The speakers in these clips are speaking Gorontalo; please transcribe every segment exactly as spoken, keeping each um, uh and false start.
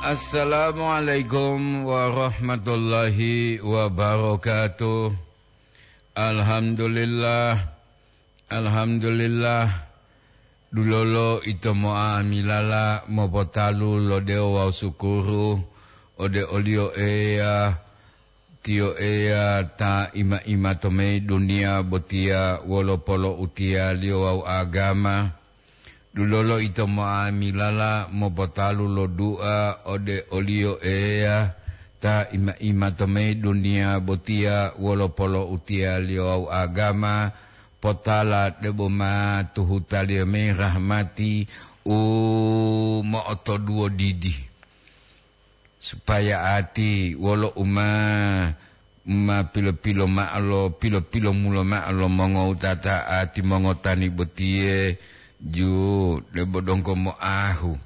Assalamualaikum warahmatullahi wabarakatuh. Alhamdulillah, alhamdulillah. Dulolo ito mo'amilala mopotalu lo dewo wawu sukuru ode oliyo Eya, tiyo Eya ta ima-ima to mayi duniya botiya wolo polo'utiyaliyo wawu agama. Dulolo ito mo'amilala mopotalu lo dua ode oliyo Eya ta ima-ima to mayi duniya botiya wolo polo'utiyaliyo wawu agama, potala debo ma tuhutaliyo mayi rahmati u mo'otoduwo didi. Supaya ati wolo u ma, ma pilo-pilo ma'o lo, pilo-pilo mulo ma'o lo mongowutata ati mongotani botiye, ju debo donggo moahu,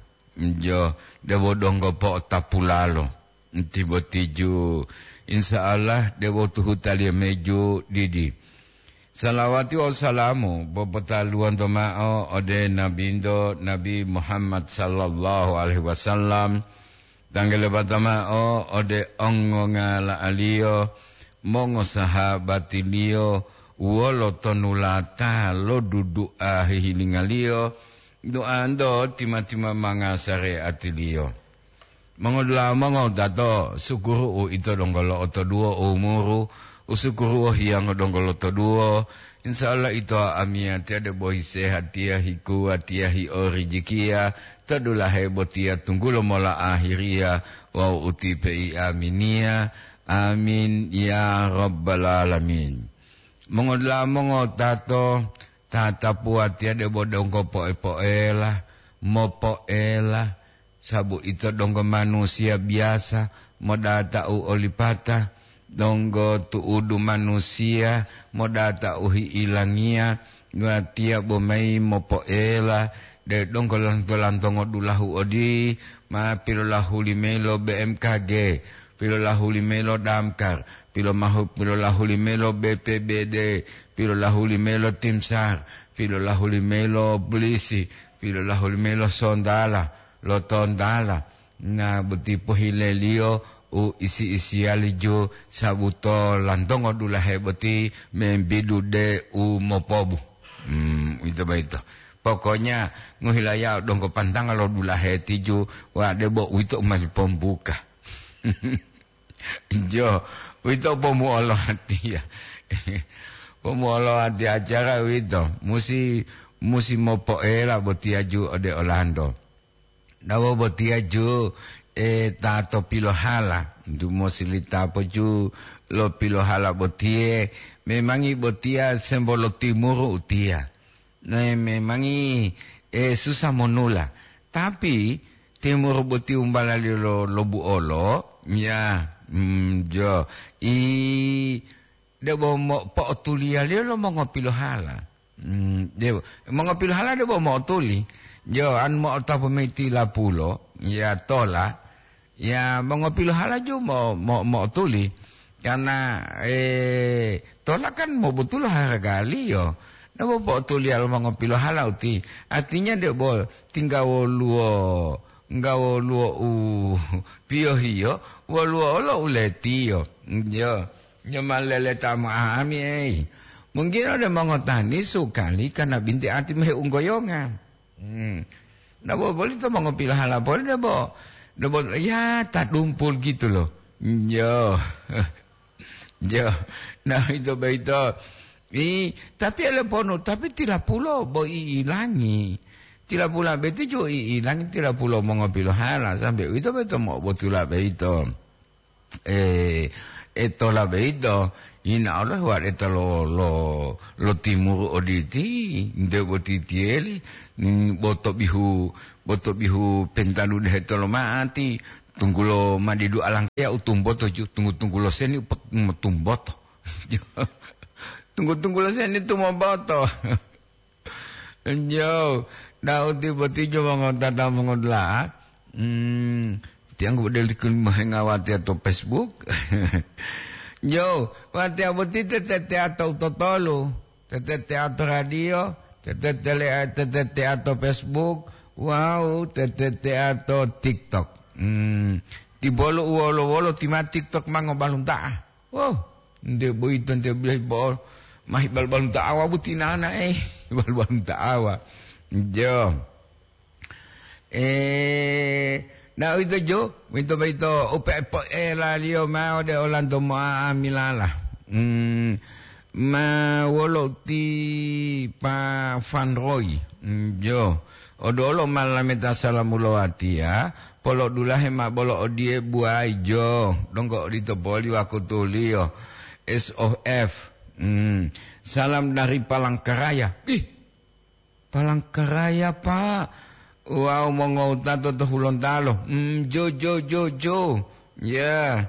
jo debo donggo po'otapulalo. Nti boti ju, insya Allah debo tuhutaliyo meju didi. Salawati wawu salamu popotaluwanto ma'o ode Nabinto, Nabi Muhammad sallallahu alaihi wasallam, tanggelebata ma'o ode ongongala'aliyo, mongosahabatiliyo, wolo tonulata lo dudu'a hihilingaliyo, du'anto tima-tima manga sare'atiliyo. Mongodula'a mongowutato, sukuru u ito donggo lo'otoduwo umuru, u sukuru wohiyango donggo lotoduwo. Insya Allah ito amiyatiya debo hisehatiya, hikuwatiya, hiorijikiya, to dulahe botiya tunggulo mola ahiriya wawu utipe i aminiya. Amin ya rabbal alamin. Mongodula'a mongowutato, tatapuwatiya debo donggo poe-poela, mopoela, sabu ito donggo manusiya biyasa modata'u olipata, donggo tu'udu manusiya modata'u hi'ilangiya, watiya bomayi mopoela, de donggo lanto-lantongo dulahu odi ma pilolahuli mayi lo B M K G, pilolahuli mayi lo Damkar, pilomahu-, pilolahuli mayi lo B P B D, pilolahuli mayi lo Timsar, pilolahuli mayi lo polisi, pilolahuli mayi lo sontala, lo tontala. Na boti pohileliyo u isi-isiyali ju sabuto lantongo dulahe boti membidu de u mopobu. Hmm, uwito boyito. Pokoknya ngohilayao donggo pantanga lo dulahe tiju, wa debo uwito u ma lipombuka. Jo, uwito pomuolo hatiya. Pomuolo hati acara uwito, musi, musi mopoela botiya ju ode olanto. Nawo botiya ju, e, ta to pilohala, ntu mosilita po ju lo pilohala botiye, memangi botiya sembo lo timuru utiya. Ne memangi, e, susah monula. Tapi, timuru boti umbalaliyo lo, lo buolo, ya, mm, jo, i, debo mo-, po'otuliyaliyo lo mongopilohala. Mm, debo, mongopilohala debo mo'otuli. Jo, an mo'otapu mayi tilapulo, ya tola. Ya, mongopilohala ju mo-, mo-, mo'otuli. Karena, eh, tola kan mobutulo haragaliyo. Nabo po'otuliya lo mongopilohala uti. Artinya debo tingga woluwo, ngga woluwo u piyohiyo, woluwo olo uletiyo. Jo, jo ma leleta mo'ahami, ei. Mungkin ode mongotani sukali kana binti ati mehe unggoyonga. Hmm. Nabo boli to mongopilohala poli debo, debo, ya, ta dumpul gitu loh. Yo. Yo. Nah, itu beito. I, tapi ele ponu, tapi tilapulo bo i ilangi. Tilapula beito ju i ilangi tilapulo mongopilohala sampai itu beito mo botula beito. Eh, e tola beito, ina Allah waɗeta lo, lo, lo timuru oditi, nde botitiyeli, mm, boto bihu, boto bihu pentadu dehe tolo ma'ati, tunggulo madidu alangkaya utumboto ju, tunggu-tunggulo seni upet-, motumboto. Tunggu-tunggulo seni tumoboto. Jo, Daudi boti jo mongotata mongodula'a. Hmm, tiang ku deli kun mohenga watiya to Facebook. Jo, watiya boti tete-teteya to utotolu. Tete-teya to radio, tete-tele-, tete-teya to Facebook, wawu tete-teya to TikTok. Hmm, tibolo u wolo-wolo ti ma TikTok ma ngobalunta'a. Wo, nte boyito nte bilahi bo'o mahi bal-balunta'a wa butinana, eh, bal-balunta'a wa. Jo. Eh, na uwito jo, uwito boyito upe'e po'elaliyo mao ode olanto mo'amilala. Hmm, ma wolo ti Pa Fanroy. Hmm, jo. Odolo ma lameta salamu lo watiya, polodulahe ma bolo odiye buwayi jo, donggo odito poli wakutuliyo. S O F. Hmm. Salam dari Palangkaraya. Ih, Palangkaraya, Pak. Wawu mongowutato to Hulontalo. Hmm, jo, jo, jo, jo. Ya,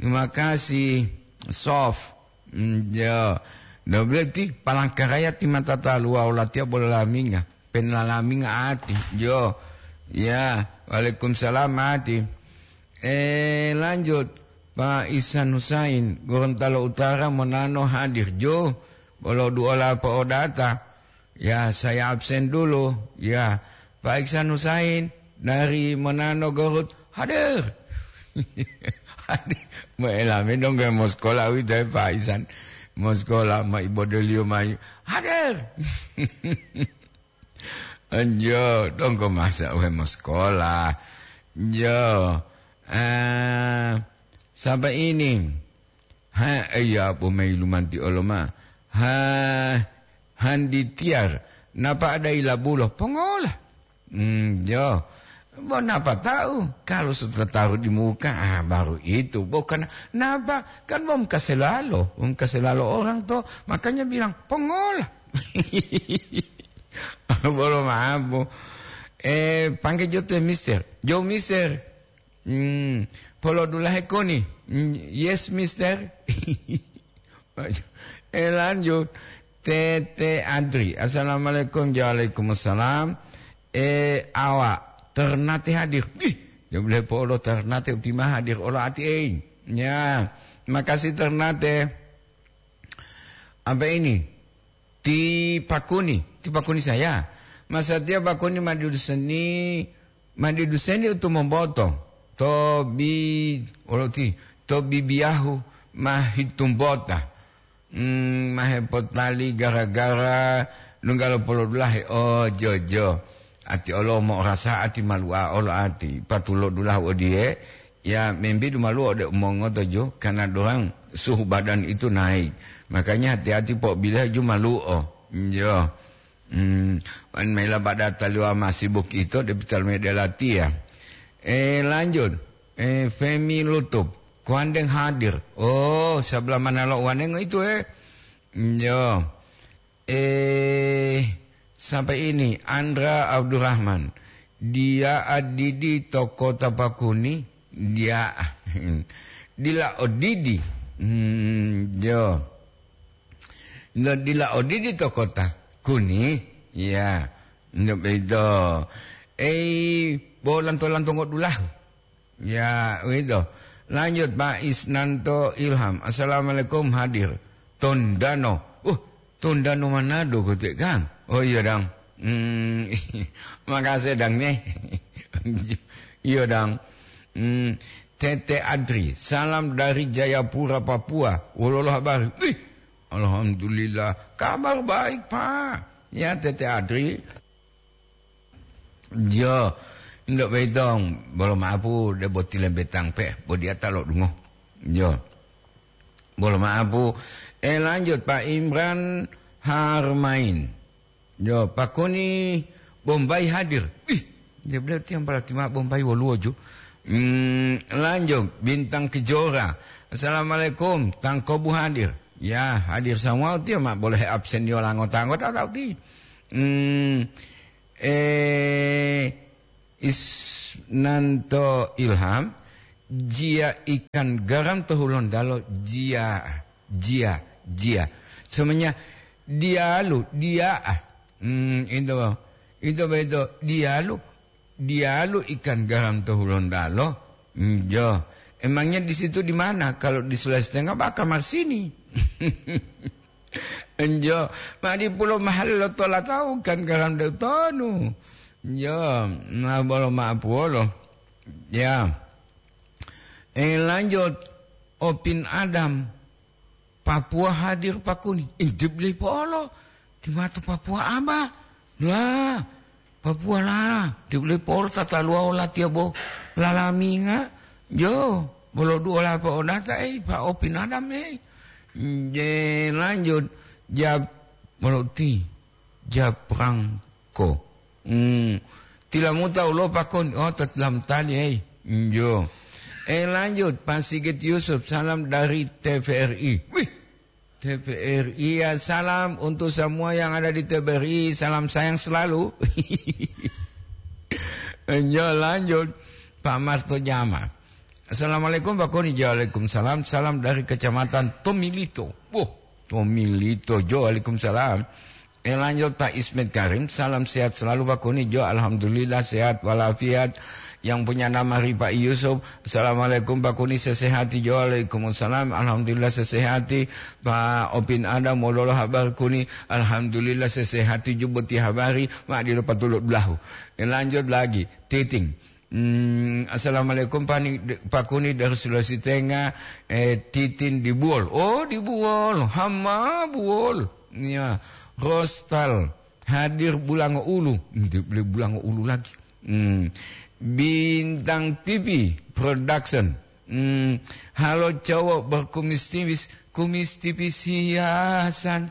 terima kasih, Sof. Hmm, jo. Nah, berarti Palangkaraya ti mata taluwa olatiya bola laminga. Penalaminga ati. Jo. Ya, waalaikumsalam ati. Eh, lanjut. Pak Ihsan Husain, Gorontalo Utara, Monano hadir. Jo, bolo duola po'odata. Ya, saya absen dulu. Ya, Pak Ihsan Husain dari Monano Garut hadir. Hadir. Mo'elami dong ke moskola uwito, eh, Pak Ihsan. Moskola ma ibodoliyo mayu. Hadir. Enjo, donggo masa we moskola. Enjo. Eh, sampai ini. Ha, iya, po mailumanti oloma. Ha, Handi Tiar, napa ada ilabulo? Pongola. Hmm, jo. Bo napa tahu? Kalau sudah taruh di muka, ah, baru itu. Bukan napa, kan bom kaselalo. Bom kaselalo orang to. Makanya bilang, pongola. Bolo mabu. Eh, panggil jo te mister. Jo mister. Hmm, polodulahe koni. Hmm, yes, mister. Eh, lanjut. Tete Adri. Assalamualaikum. Waalaikumsalam. Eh, awa. Ternate hadir. Ih, dia boleh polo Ternate utima hadir. Olo ati, eh. Ya, makasih Ternate. Apa ini? Ti pakuni, ti pakuni saya. Masatiya pakuni maduduseni, maduduseni utu momboto. To bi, olo ti, to bibiyahu mahitumbota. Hmm, mahepotali gara-gara lunggalo polodulahe. Oh, jojo. Ati olo mo'orasa ati malu'a olo ati. Patulodulahu odiye, ya, membidu malu'o ode umongoto jo, karena dorang suhu badan itu naik. Makanya hati-hati po bila ju malu'o. Jo. Hmm, wan mela pada taliwa masih bukito de pital mede latiya. Eh, lanjut. Eh, Femi Lutup. Kuandeng hadir. Oh, sebelah mana lo wanengo itu, eh? Jo. Eh, sampai ini, Andra Abdurrahman. Dia adidi to kota Pakuni, dia dila odidi. Hmm, jo. Ndo dila odidi to kota Kuni, ya. Ndo bedo. Eh, bo lanto-lanto ngodulahu. Ya, uwito. Lanjut, Pak Isnanto Ilham. Assalamualaikum, hadir. Tondano. Uh, Tondano Manado kote, Kang? Oh, iya, Dang. Hmm, makasih, Dang, nih. Iya, Dang. Hmm, Tete Adri, salam dari Jayapura, Papua. Wololo habari? Ih, alhamdulillah. Kabar baik, Pak. Ya, Tete Adri. Jo, ndo beitong, bolo maapu, debo tilembetang pe, bo diata lo dungo. Jo. Bolo maapu. Eh, lanjut, Pak Imran Harmain. Jo, Pakuni Bombay hadir. Ih, dia bilang tiang berarti ma Bombay woluwo jo. Hmm, lanjut, Bintang Kejora. Assalamualaikum, Tangkobu hadir. Ya, hadir semua, dia ma boleh absen yo anggota-anggota, tahu ti. Hmm, Eh, Isnanto Ilham, jia ikan garam to Hulontalo, jia, jia, jia. Semuanya dialu, dia. Hmm, itu, itu betul. Dialu, dialu ikan garam to Hulontalo. Hmm, jo. Emangnya di situ di mana? Kalau di Sulawesi Tengah, bah, kamar sini. Enjo, ma'o dipulo mahallo tola tawu kan garam de'u tonu. Enjo, ma bolo ma'o puwolo. Ya. Eh, lanjut. Opin Adam. Papua hadir pakuni. Intip lipo olo. Timato Papua aba. Lah. Papua lala. Intip lipo olo tataluwa olatiya bo. Lalaminga. Yo. Bolo duo lapa odata, eh, pa Opin Adam, eh. Je, lanjut. Jab, bolo ti. Japrangko. Hmm. Tilamuta ulo pakon, oh, tetlam tali, hei. Njo. Eh, lanjut, Pak Sigit Yusuf, salam dari T V R I. Wih, T V R I ya, salam untuk semua yang ada di T V R I, salam sayang selalu. Njo, lanjut, Pak Marto Jama. Assalamualaikum, Pak Koni. Waalaikumsalam, salam dari Kecamatan Tomilito. Wah, Tomilito, jo, waalaikumsalam. Eh, lanjut, Pak Ismet Karim. Salam sehat selalu, Pak Kuni. Jo, alhamdulillah sehat walafiat. Yang punya nama Ripa Yusuf. Assalamualaikum, Pak Kuni, sesehati. Jo, waalaikumsalam. Alhamdulillah sesehati. Pak Opin Adam, modolo habar Kuni. Alhamdulillah sesehati, juboti habari. Mak dilo patuluk belahu. Eh, lanjut lagi. Titing. Hmm, assalamualaikum, Pak Ni-, Pak Kuni dari Sulawesi Tengah. Eh, Titin di Buol. Oh, di Buol. Hama Buol. Ya, Rostal hadir Bulango Ulu. Nde beli Bulango Ulu lagi. Hmm. Bintang T V Production. Hmm. Halo cowok berkumis tipis, kumis tipis hiasan.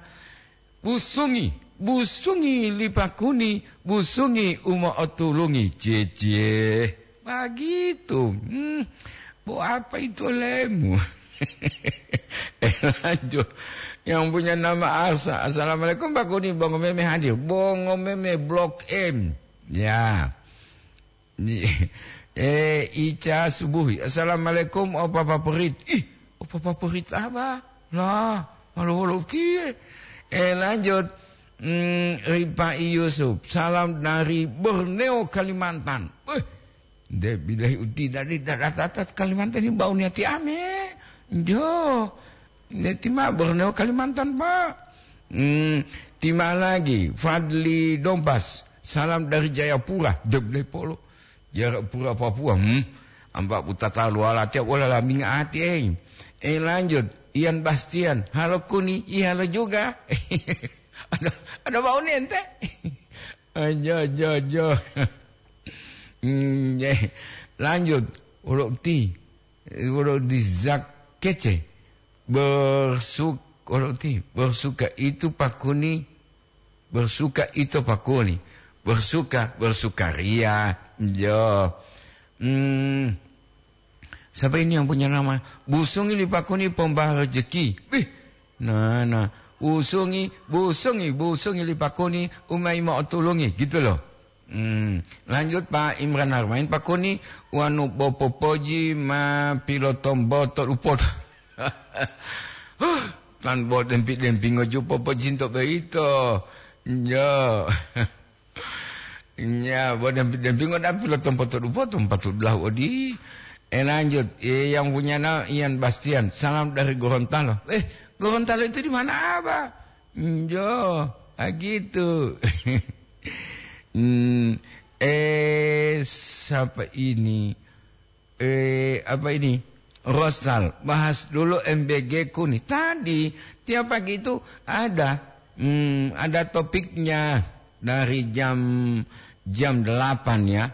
Busungi, busungi li Pak Kuni, busungi u mo'otulungi. Cie, cie. Begitu. Hmm. Bo apa itu olemu? Eh, lanjut. Yang punya nama Arsa. Assalamualaikum, Pak Kuni. Bongo Meme hadir. Bongo Meme Blok M. Ya. Ni-, eh, Ica Subuhi. Assalamualaikum, Opa Papurit. Ih, Opa Papurit apa? Lah, malu-malu kie. Eh, lanjut. Hmm, Ripai Yusuf. Salam dari Borneo, Kalimantan. Eh, de bilahi uti dari datat Kalimantan ini bau niati ame. Jo. Neti ma Borneo, Kalimantan, Pak. Hmm, tima lagi, Fadli Dompas. Salam dari Jayapura. Jeblepolo. Jayapura, Papua. Hmm. Amba putata luala tiap wala laminga ati, eh. Eh, lanjut. Ian Bastian. Halo Kuni, iya halo juga. Ada, ada bau nente. Aja, aja, aja. Hmm, eh. Lanjut. Ulok ti. Wolo di Zak kece. Bersuk-, wolo ti, bersuka itu Pak Kuni, bersuka itu Pak Kuni, bersuka, bersukaria. Jo. Hmm, siapa ini yang punya nama? Busungi li Pak Kuni pomba rezeki. Wih, nah, nah. Busungi, busungi, busungi li Pak Kuni, umai mau tulungi, gitu loh. Hmm, lanjut, Pak Imran Harmain, Pak Kuni, wanu bo popoji ma pilotomboto lupot. Huh, tan bo dempi-dempingo ju popojinto boyito. Njo. Nya, bo dempi-dempingo da pilotomboto lupot, patut belahu odi. Eh, lanjut. Eh, yang punya na-, Ian Bastian. Salam dari Gorontalo. Eh, Gorontalo itu di mana, Abah? Njo, ah, gitu. Hmm, eh, siapa ini? Eh, apa ini? Rosal, bahas dulu M B G Kuni. Tadi, tiap pagi itu ada, hmm, ada topiknya dari jam, jam delapan ya.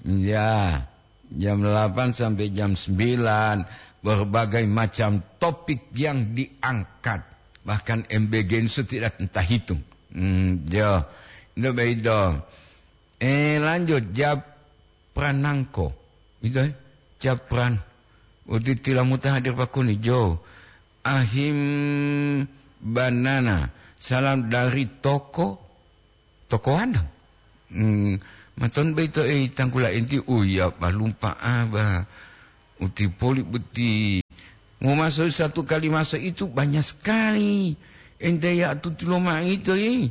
Ya, jam delapan sampai jam sembilan, berbagai macam topik yang diangkat. Bahkan M B G itu tidak entah hitung. Hmm, ya. Itu begitu. Eh, lanjut, Japranangko. Itu, eh, Japran. Uti tilamuta hadir Pak Kuni, Jo. Ahim Banana. Salam dari toko Toko Wandang. Hmm, maton boyito, eh, tangkula enti, uya balumpa aba. Uti poli boti. Mau masuk satu kali masuk itu banyak sekali. Ente ya tutulo ma'ito, eh.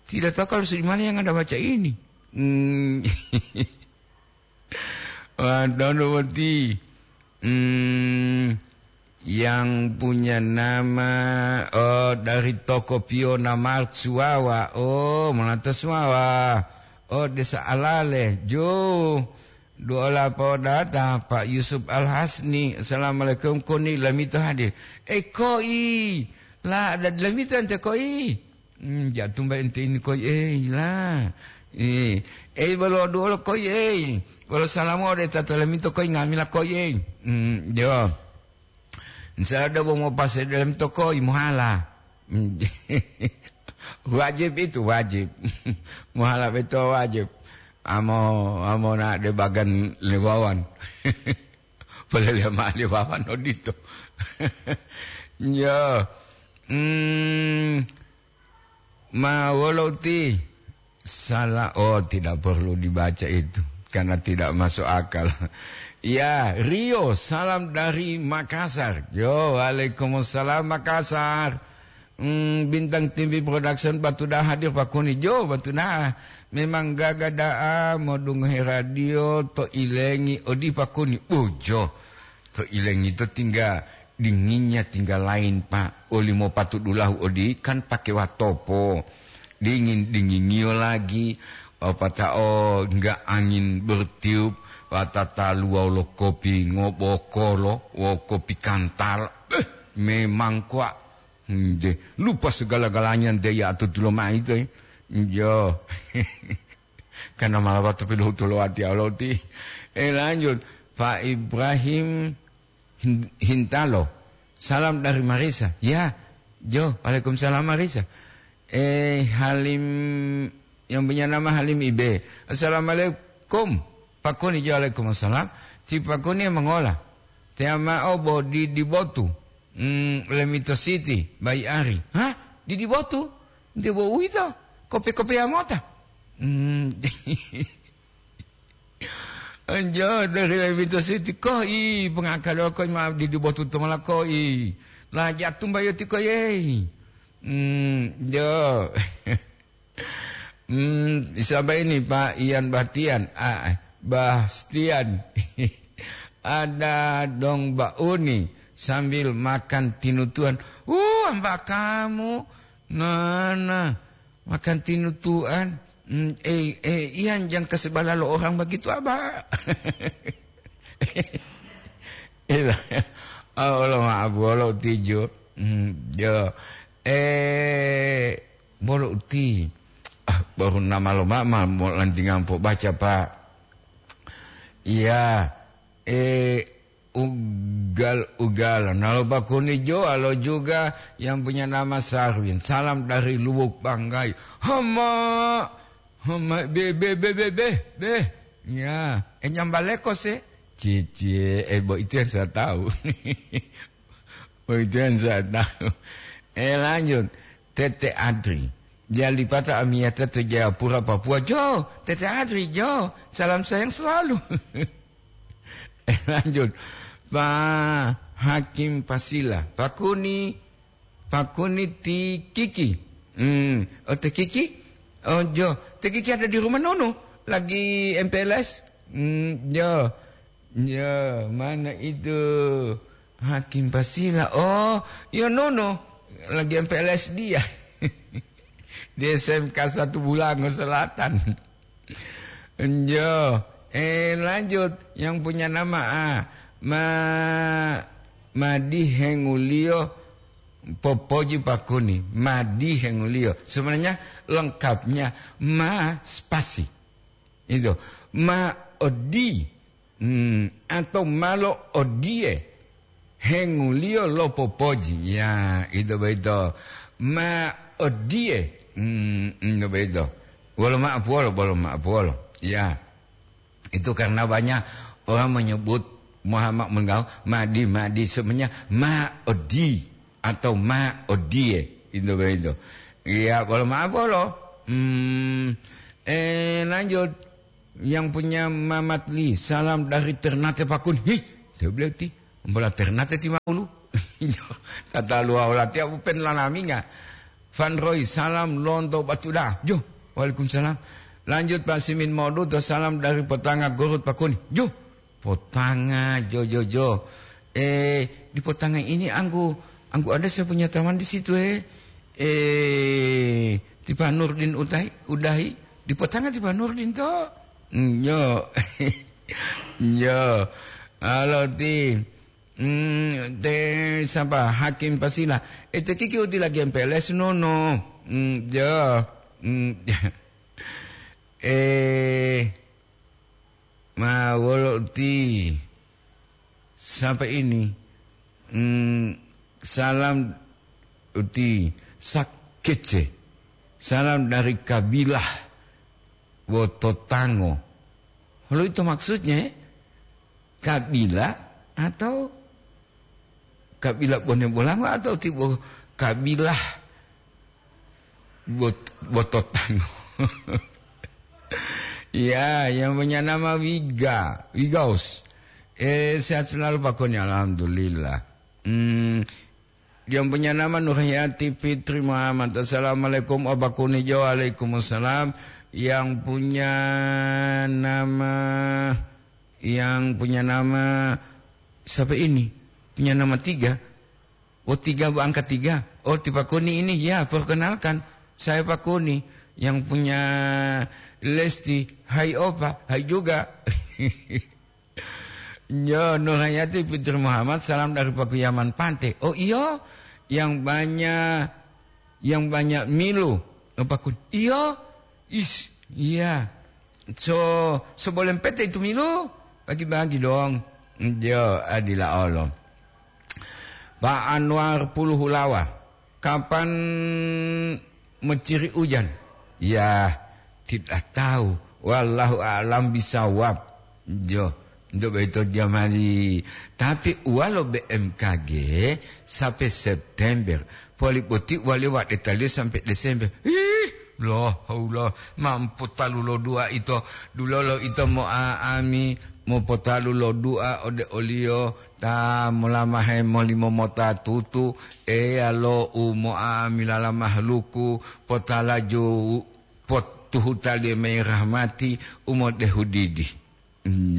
Tidak tahu kalau di mana yang Anda baca ini. Hmm. Wah, dono boti. Hmm, yang punya nama, oh, dari toko Piona Mart Suwawa. Oh, Monata Suwawa. Oh, Desa Alale. Jo. Duola podata, Pak Yusuf Al-Hasni. Assalamualaikum, koni lamito hadir. Eh, koi. La, ada lamito ente koi. Hmm, jatumba ente ini koi, eh, la. Eh, eh, bolo duolo koi, eh. Bolo salamu ode tata lamito koi, ngamila koi, eh. Hmm, yo. Insya Allah, bo mopase dalam toko, mohala. Wajib itu, wajib. Mohala beto wajib. Amo, amo na de bagan lewawan. Polele ma lewawan odito. Yo. Hmm, Ma wolo ti salah? Oh, tidak perlu dibaca itu karena tidak masuk akal. Ya, Rio, salam dari Makassar. Yo, waalaikumsalam Makassar. Hmm, Bintang T V Production Batu Daha hadir Pak Kuni. Jo, Batu Daha. Memang gaga da'a modungohe radio to ilengi odi Pak Kuni. Bojo. To ilengi to tingga dinginnya tinggal lain, Pak. Olimo patu dulahu odi kan pake watopo. Dingin-dingingiyo lagi, apata'o enggak angin bertiup, watataluwa lo kopi ngobokolo, wo kopi kantal. Eh, memang kuwa. Nde, lupa segala-galanya nde ya atutulo mai to, eh. Njo. Karena malawa to pilohutu lo wati Aloti. Eh, lanjut. Pak Ibrahim Hin-, Hintalo. Salam dari Marisa. Ya, Jo, waalaikumsalam Marisa. Eh, Halim, yang punya nama Halim Ibe. Assalamualaikum. Pakuni, Jo, waalaikumsalam. Ti Pakuni mangola. Te amao bo di, di Botu. Hmm, Lemito City, Bai Ari. Hah? Di, di Botu? Nde bo uwito? Kopi-kopi amota? Hmm. Anjo dari Lewito City koi, pengakalo koi ma di, di Botu Tumala koi. La jatumba yo tiko yei. Hmm, jo. Hmm, siapa ini, Pak Ian Bahtian? Ah, Bastian. Ada dong Bauni sambil makan tinutuan. Uh, amba kamu. Nah, nah. Makan tinutuan. Hmm, eh, eh, Ian, jangan kasih bala lo orang begitu, Abah. Iya. Oh, lo maaf, bolo tijo. Hmm, yo. Eh, bolo uti. Ah, baru nama lo mama mau lantingan po baca, Pak. Iya. Eh, ugal-ugalan. Nalo bakuni jo, alo juga yang punya nama Sarwin. Salam dari Luwuk Banggai. Hama, hama, be, be, be, be, be, be. Ya, eh, nyambaleko se. Cici, eh, bo itu yang saya tahu. Oh, itu yang saya tahu. Eh, lanjut. Tete Adri. Dia lipata amiyata to Jayapura, Papua. Jo, Tete Adri, jo. Salam sayang selalu. Eh, lanjut. Pak Hakim Pasila. Pakuni, Pakuni ti Kiki. Hmm. Oh, ti Kiki? Oh, jo. Ti Kiki ada di rumah Nono. Lagi M P L S. Hmm, jo. Ya, mana itu Hakim Pasila? Oh, ya Nono, lagi M P L S dia. Di S M K satu Bulango Selatan. Enjo, eh, lanjut, yang punya nama, ah, Ma-, Madi Hengulio Popoji Pakuni. Madi Hengulio. Sebenarnya lengkapnya Ma spasi. Itu. Ma odi. Hmm, atau malo odie, henguliyo lo popoji. Ya, ito boyito. Ma odie, hmm, ito boyito. Wolo ma'apuwolo, wolo ma'apuwolo. Ya. Itu karena banyak orang menyebut Muhammad Menggau, Madi, Madi, sebenarnya Ma Odi atau Ma Odie. Ito boyito. Ya, wolo ma'apuwolo. Hmm, eh, lanjut. Yang punya Mamat Li, salam dari Ternate Pakun. Hih, dia bilang ti, mbola Ternate ti Maulu. Tata luwa wala tiap upen lanaminga. Van Roy, salam lonto batuda. Jo, waalaikumsalam. Lanjut Pak Simin Modu, to salam dari Potanga Gorut Pakun. Jo, Potanga, jo, jo, jo. Eh, di Potanga ini anggu, anggu ada saya punya teman di situ, eh. Eh, ti Pak Nurdin Utai, Udahi, di Potanga ti Pak Nurdin to. Hmm, yo. Yo, alo ti, mm, te sapa, Hakim Pasila. E, te kiki u dila G M P L S nono. Mm, yo. Mm, eh, ma wolo ti sapa ini? Mm, salam uti sakece. Salam dari kabilah Wototango. Halo itu maksudnya, eh? Kabila atau kabila Bone Bolango atau tibo kabilah Bot-, Bototango? Ya, yang punya nama Wiga, Wigaus. Eh, sehat selalu Pak Koni, alhamdulillah. Hmm, yang punya nama Nurhayati Fitri Muhammad. Assalamualaikum, Abah Kuni Jo. Waalaikumsalam. Yang punya nama, yang punya nama siapa ini? Punya nama tiga. Oh, tiga, Bu, angka tiga. Oh, ti Pak Kuni ini. Ya, perkenalkan. Saya Pak Kuni. Yang punya Lesti. Hai, Opa. Hai juga. Yo, Nurhayati Fitri Muhammad, salam dari Pakuyaman Pante. Oh, iyo, yang banyak, yang banyak milu. Oh, Pak Kuni. Iyo, is, iya. So, sebolem pete itu milu, bagi-bagi dong. Yo, adila Allah. Pak Anwar Puluhulawa, kapan meciri ujan? Ya, tidak tahu. Wallahu a'lam bisawab. Jo, untuk begitu dia mari. Tapi walo B M K G sampai September. Poli boti wali wa detaliu sampai Desember. Ih, la haula, mampu talu lo dua ito, dulolo ito mo'a'ami, mopotalu lo dua ode oliyo, ta molamahe molimo mota tutu, Eya lo umo'a'ami lala mahaluku, potalaju, potuhutaliyo mayi rahmati, umodehu didi.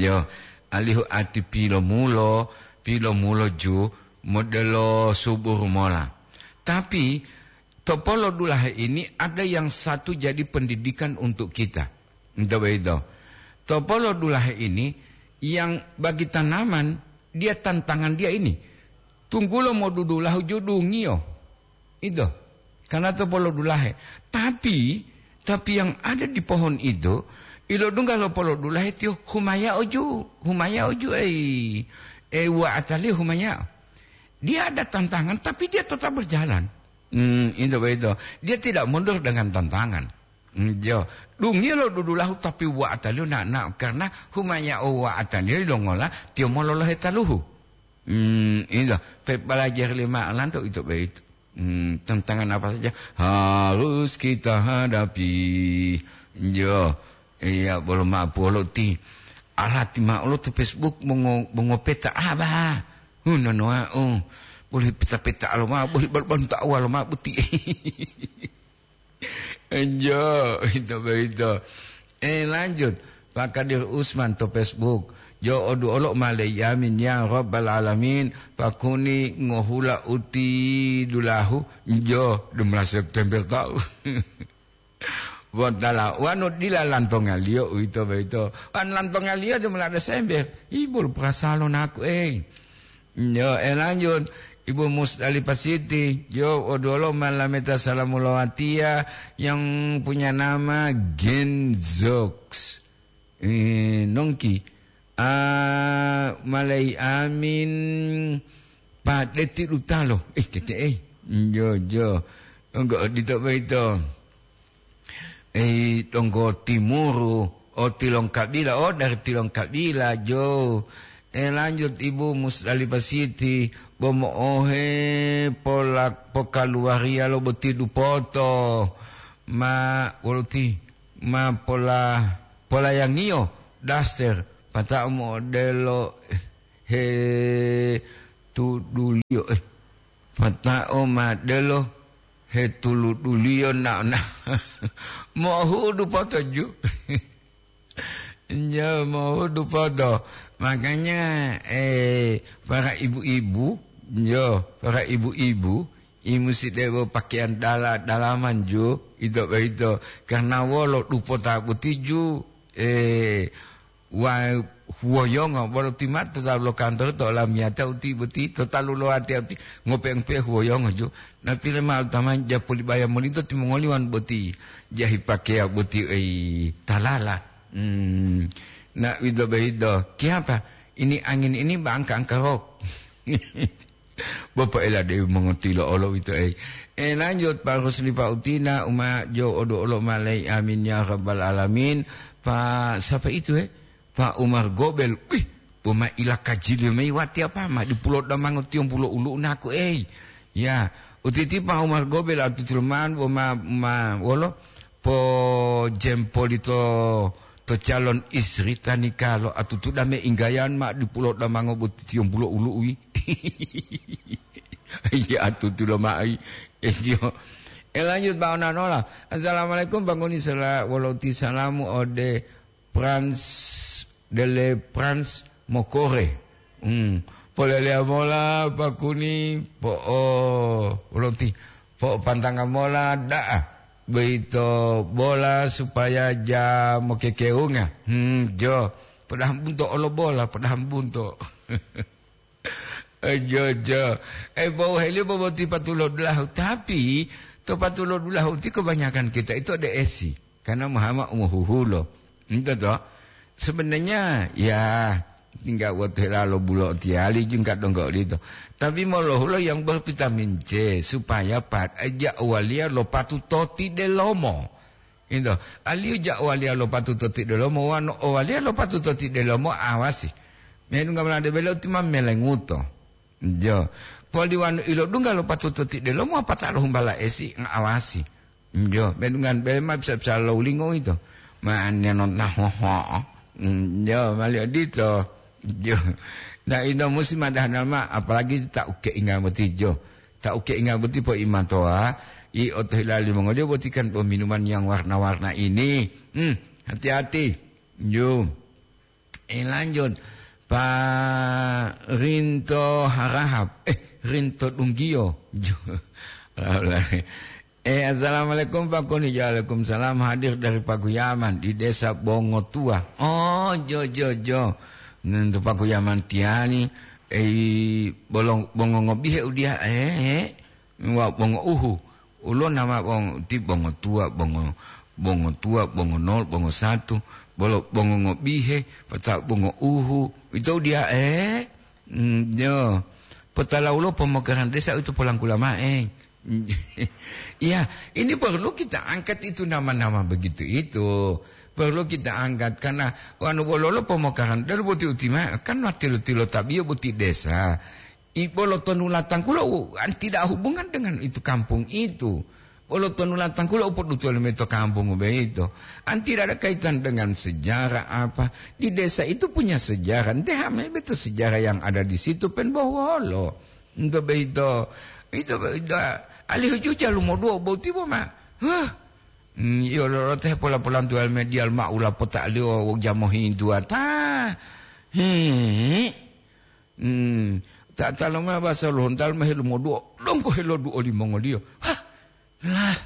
Yo, alihu ati pilomulo, pilomulo ju, modelo suburu mola. Tapi, topolo dulahe ini ada yang satu jadi pendidikan untuk kita. Ento boyito. Topolo dulahe ini, yang bagi tanaman, dia tantangan dia ini. Tunggulo modudulahu judungiyo. Ito. Karena topolo dulahe. Tapi, tapi yang ada di pohon itu, ilodungga lo polo dulahe tiyo humaya oju, humaya oju, ei. E, wa ataliyo humaya. Dia ada tantangan, tapi dia tetap berjalan. Hmm, itu begitu. Dia tidak mundur dengan tantangan. Hmm, yo. Dungiyo lo dudulahu, tapi wa ataliyo na, na, karena humaya o wa ataliyo longola, tiyo mololohe taluhu. Hmm, itu. Pe belajar lima lanto itu begitu. Hmm, tantangan apa saja harus kita hadapi. Yo, iya, bolo ma'o polo ti. Alati ma'o lo to Facebook mongo-, mongopeta aba. Hu, nonoa, oh. Boleh peta-peta alo ma'o, boleh bar-, bantu awal ma'o buti. Enjo, itu begitu. Eh, lanjut. Pak Kadir Usman to Facebook. Jo odu olo malei amin ya rabbal alamin. Pakuni ngohula uti dulahu. Jo, dua belas September tahu. Botala, wanu dila lantongaliyo uwito boyito. Wan lantongaliyo de mola Desember. Ibul perasalo naku, eh. Yo, eh, lanjut. Ibu Musdalifah Siti, yo, odolo malameta salamu lawatiya yang punya nama Genzox. Eh, nongki. Ah, malai amin. Padeti dutalo. Eh, tete, eh. Yo, yo. Enggak odito boyito. Eh, donggo timuru, oh, Tilongkabila, oh, dari Tilongkabila, jo. Eh, lanjut, Ibu Musdalifah Siti, bo mo'ohe pola-, pokaluwariya lo boti dupoto. Ma, woluti, ma pola-, polayangiyo daster, pata'o mo'odelo, he, tuduliyo, eh. Pata'o ma delo hetuluduliyo na, na mohudu poto ju. Nyo, mohudu poto. Makanya, eh, para ibu-ibu, nyo, para ibu-ibu, i musi debo pakaian dala-, dalaman ju, ito boyito. Karena wolo dupota boti ju, eh, wa-, huwoyongo, bolo ti ma'o to talu lo kantoro to olamiyata uti boti, to talu lo ati uti, ngope-ngope huwoyongo ju. Napile ma'o tamani japoli baya molito timongoli wan boti, jahi pakeya boti ei talala. Hmm. Na wido behido, "Kiapa? Ini angin ini ba angka-angka rok." Bapak ela dewi mongotilo olo wito ei. Eh, lanjut, Pak Rusli, Pak Utina, Uma Jo Odo Olo Malai, amin ya rabbal alamin. Pak, siapa itu, eh? Pak Umar Gobel. Wih, boma ila kajili mei wati apa ma di pulo damango tiong pulo ulu naku ei. Ya, utiti Pak Umar Gobel atu Sulman boma ma wolo po jempoli to, to calon istri tanikalo atutu dame inggayan ma di pulo damango boti tiong pulo ulu wi. Iya atutu lo mai. Iya. Eh, lanjut Pak Onanola. Assalamualaikum Bang Uni, sela wolo ti salamu ode Prans dele Prans mokore. Hmm. Poleleya mola pakuni po'o loti, po'o pantanga mola da'a. Boyito bola supaya ja mokekeunga. Hmm, jo. Podaha bunto olo bola, podaha bunto. Eh, jo, jo. Eh, bau heli boboti patulo dulahu. Tapi, to patulo dulahu ti kebanyakan kita itu ada esi. Karena Muhammad umuhuhulo. Itu toh. Sebenarnya, ya, tinggal buat helalo bulo tiali jingkat donggo lito. Tapi molohulo yang bervitamin C, supaya pat, aja waliya lo patu toti delomo. Ito, aliyo ja waliya lo patuto ti delomo wano o waliya lo patuto ti delomo awasi. Menu ngamla de belo ti ma melenguto. Jo. Poli wanu ilo dungga lo patuto ti delomo apa ta lo humbala esi nga awasi. Jo, menu ngan bele ma bisa-bisa lo ulingo ito. Ma ane non tahoho. Jo, mali odito. Jo. Nah, ito musim ada hanal ma, apalagi ta uke inga mati jo. Ta uke inga boti po imatoa, i otohila limongoliyo boti kan peminuman yang warna-warna ini. Hmm, hati-hati. Ju. Eh, lanjut. Pak Rinto Harahap. Eh, Rinto Dunggio. Ju. Eh, assalamualaikum Pak Koni. Waalaikumsalam. Hadir dari Paguyaman di Desa Bongotua. Oh, jo, jo, jo. Nentu Paguyaman tiani. Eh, bolong, bongo ngobihe udia. Eh, eh. Wa bongo uhu. Ulo nama bongo ti bongo tua, bongo, bongo tua, bongo nol, bongo satu, bolo bongo ngobihe, pata bongo uhu. Itu dia, eh? Hmm, yo. Potala ulo pemokaran desa itu polangkula mae. Iya, ini perlu kita angkat itu nama-nama begitu itu. Perlu kita angkat karena wanu bololo pemokaran dari boti utima kan tilo-tilo tabiyo boti desa. Bolo tonulatan kula u, an tidak hubungan dengan itu kampung itu. Bolo tonulatan kula u podutuwali mayi to kampung boyito. An tidak ada kaitan dengan sejarah apa. Di desa itu punya sejarah. Nte hame beto sejarah yang ada di situ pen bohuwolo. Nto boyito, ito boyito, alihu juja lumoduwo boti bo ma. Huh. Hmm, iyo lolote pola-polantuwali media ma ula pota'aliyo jamohi duwata. He. Hmm, ta-, ta lomao basa lohontalo ma helumoduwo, donggo heloduwo limongoliyo. Hah, lah,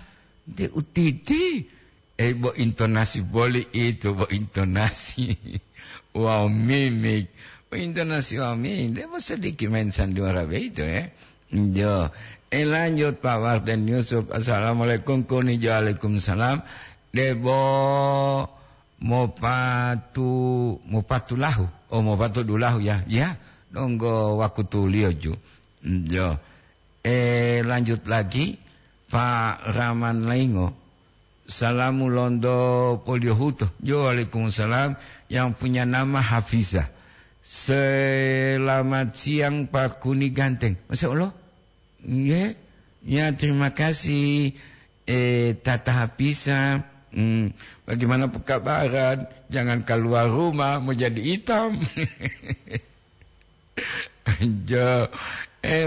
de utiti. Eh, bo intonasi boli itu, bo intonasi. Wow, mimik. Bo intonasi, wow, mimik. Debo sedikit main sandiwara beito, ya. Jo. Eh, lanjut, Pak Warden Yusuf. Assalamualaikum, kuni jo, waalaikumsalam. Debo mopatu, mopatu lahu. Oh, mopatu dulahu, ya. Ya, donggo wakutuliyo ju. Jo. Eh, lanjut lagi, Pak Rahman Laingo. Salamu lonto Poliohuto. Jo, waalaikumsalam. Yang punya nama Hafiza. Selamat siang, Pak Kuni Ganteng. Masya Allah. Nggih. Ya, terima kasih. Eh, Tata Hafiza. Hmm, bagaimana pekabaran? Jangan keluar rumah, mau jadi hitam. Jo. Eh,